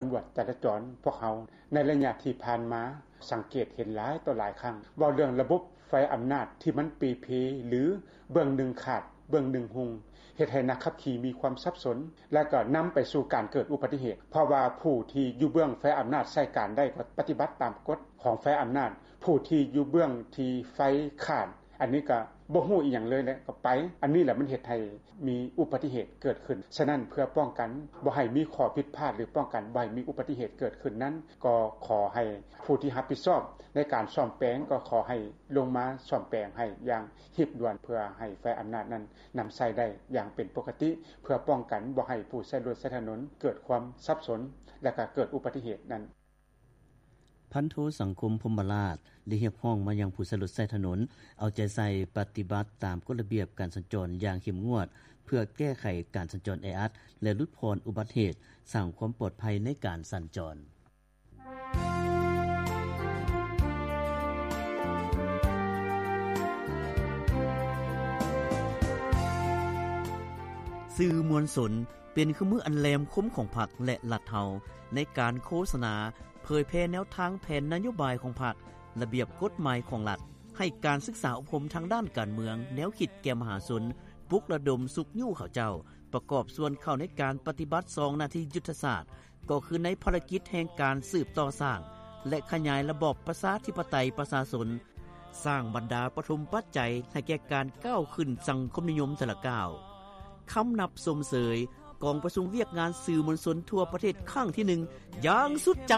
ຫຼວດຈະລາຈອນພວກເຮົາ ໃນໄລຍະທີ່ຜ່ານມາ ສັງເກດເຫັນຫຼາຍຕໍ່ຫຼາຍຄັ້ງ ເວົ້າເລື່ອງລະບົບໄຟອຳນາດທີ່ມັນເປ່ເພ ຫຼື ເບື້ອງໜຶ່ງຂາດເບື້ອງໜຶ່ງຮຸ່ງ ເຮັດໃຫ້ນັກຂັບຂີ່ມີຄວາມສັບສົນ ແລະກໍນຳໄປສູ່ການເກີດອຸບັດຕິເຫດ ເພາະວ່າຜູ້ທີ່ຢູ່ເບື້ອງໄຟອຳນາດໃຊ້ການໄດ້ກໍປະຕິບັດຕາມກົດຂອງໄຟອຳນາດ ຜູ້ທີ່ຢູ່ເບື້ອງທີ່ໄຟຂາດ ອັນນີ້ກໍບໍ່ຮູ້ອີ່ຫຍັງເລີຍ ແລະກໍໄປ ອັນນີ້ແຫຼະມັນເຮັດໃຫ້ມີອຸບັດຕິເຫດເກີດຂຶ້ນ. ສະນັ້ນເພື່ອປ້ອງກັນບໍ່ໃຫ້ມີຂໍ້ຜິດພາດ ຫຼືປ້ອງກັນບໍ່ໃຫ້ມີອຸບັດຕິເຫດເກີດຂຶ້ນນັ້ນ ກໍຂໍໃຫ້ຜູ້ທີ່ຮັບຜິດຊອບໃນການສ້ອມແປງ ກໍຂໍໃຫ້ລົງມາສ້ອມແປງໃຫ້ຢ່າງຮີບດ່ວນ ເພື່ອໃຫ້ໄຟອຳນາດນັ້ນນຳໃຊ້ໄດ້ຢ່າງເປັນປົກກະຕິ ເພື່ອປ້ອງກັນບໍ່ໃຫ້ຜູ້ໃຊ້ລົດໃຊ້ຖະໜົນເກີດຄວາມສັບສົນ ແລະກໍເກີດອຸບັດຕິເຫດນັ້ນ. ພັນໂທ ສັງຄົມ ພົມມະລາດ ໄດ້ຮຽກຮ້ອງມາຍັງຜູ້ໃຊ້ລົດໃຊ້ຖະໜົນ ເອົາໃຈໃສ່ປະຕິບັດຕາມກົດລະບຽບການສັນຈອນຢ່າງເຂັ້ມງວດ ເພື່ອແກ້ໄຂການສັນຈອນແອອັດ ແລະ ຫຼຸດຜ່ອນອຸບັດເຫດ, ສ້າງຄວາມປອດໄພໃນການສັນຈອນ. ສື່ມວນຊົນ ເປັນເຄື່ອງມືອັນແຫຼມຄົມຂອງພັກ ແລະ ລັດເຮົາ ໃນການໂຄສະນາ ເຜີຍແຜ່ແນວທາງແຜນນະໂຍບາຍຂອງພັກ, ລະບຽບກົດໝາຍຂອງລັດ, ໃຫ້ການສຶກສາອົບຮົມທາງດ້ານການເມືອງ, ແນວຄິດແກ່ມະຫາຊົນ, ປຸກລະດົມຊຸກຍູ້ເຂົາເຈົ້າ ປະກອບສ່ວນເຂົ້າໃນການປະຕິບັດສອງໜ້າທີ່ຍຸດທະສາດ ກໍຄືໃນພາລະກິດແຫ່ງການສືບຕໍ່ສ້າງ ແລະ ຂະຫຍາຍລະບອບປະຊາທິປະໄຕປະຊາຊົນ, ສ້າງບັນດາປະຖົມປັດໄຈໃຫ້ແກ່ການກ້າວຂຶ້ນສັງຄົມນິຍົມແຕ່ລະກ້າວ. ຄຳນັບຊົມເຊີຍກອງປະຊຸມວຽກງານສື່ມວນຊົນທົ່ວປະເທດຄັ້ງທີໜຶ່ງຢ່າງສຸດໃຈ.